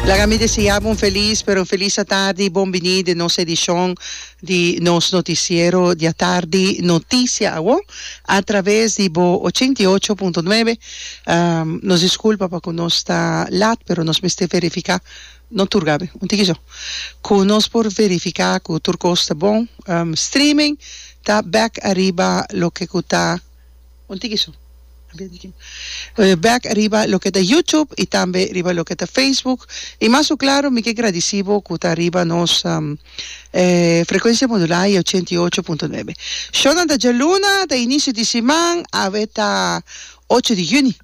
Laga mi desea bo un felis pero un felis atardi, bon bini den nos edishon di nos notisiero di atardi Noticia Awo a traves di bo 88.9. Nos disculpa pa cu nos ta lat pero nos mester verifica, no tur Gaby, un tiki so, cu nos por verifica cu tur cos ta bon. Streaming ta bek ariba loke cu ta. Un tiki so. Bek riba loke ta YouTube y tambe riba loke ta Facebook. Y mas cu claro mi ke gradici bo cu ta riba nos frecuencia modulá y 88.9. Shownan ta djaluna, ta inicio di siman, awe ta ocho di juni.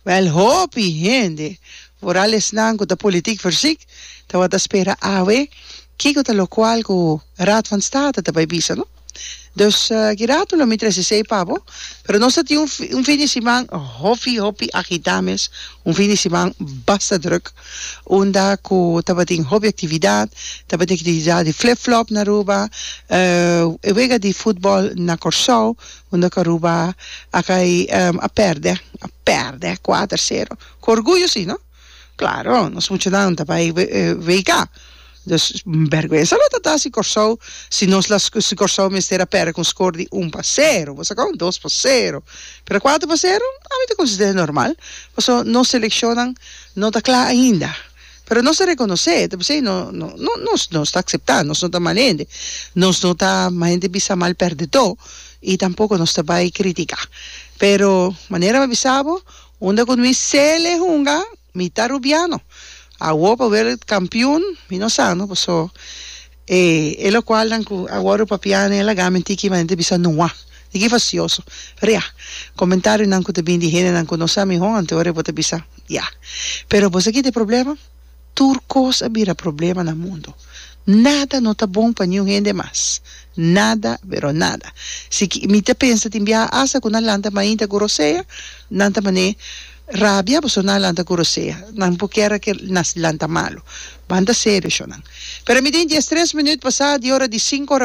Wel hopi hende, vooral esnan cu ta politiek verziek, tabata spera awe kico ta locual cu Raad van State ta bay bisa, no? Dus ki rato lo mi trece esey pa bo, pero nos ta tin un un fin di siman hopi hopi agita mes, un fin di siman basta druk, unda cu tabatin hopi actividad, tabatin actividad di flip flop na Aruba, e wega di futbol na Corsou, unda cu Aruba a cay a perde, a perde cuater cero, cu orguyo si no. Claro, nos muchanan ta bai WK. Dus bergwensa lo ta ta si Kòrsou, si nos la si Kòrsou mester a pèrdè ku un skor di un pa sero, bo sa kon? Dos pa sero. Pero kuater pa sero, ami ta konsider'é normal, pasobra nos selekshonnan no ta kla ainda. Pero nos ta rekonosé, ta p'esei no no no nos nos ta akseptá, nos no ta mal hende, nos no ta mal hende bisa mal pèrdedó i tampoko nos ta bai kritiká. Pero manera mi a bisa bo, Unda ku mi sele hunga, mi ta rubiano. Awor pa werde kampiun, mi no sa no, paso e e lokualnan ku a wòrdu papiá den e lagá mi tiki manera ta bisa nua, tiki fasioso. Pero ya, komentarionan ku ta bini di hendenan ku no sa mihó, anto ora bo ta bisa, ya. Pero bo sa kita e problema? Tur kos a bira problema na mundu. Nada no ta bon pa niun hende mas. Nada, pero nada. Si ki mi ta pensa tin biaha asta ku nan lanta mainta ku rosea, nan ta man'é rabia pasobra nan a lanta ku rosea. Nan por kier a ke nan lanta malu. Ban ta serio, shonnan. Pero mi tin diestres minüt pasá di ora di sinku ora.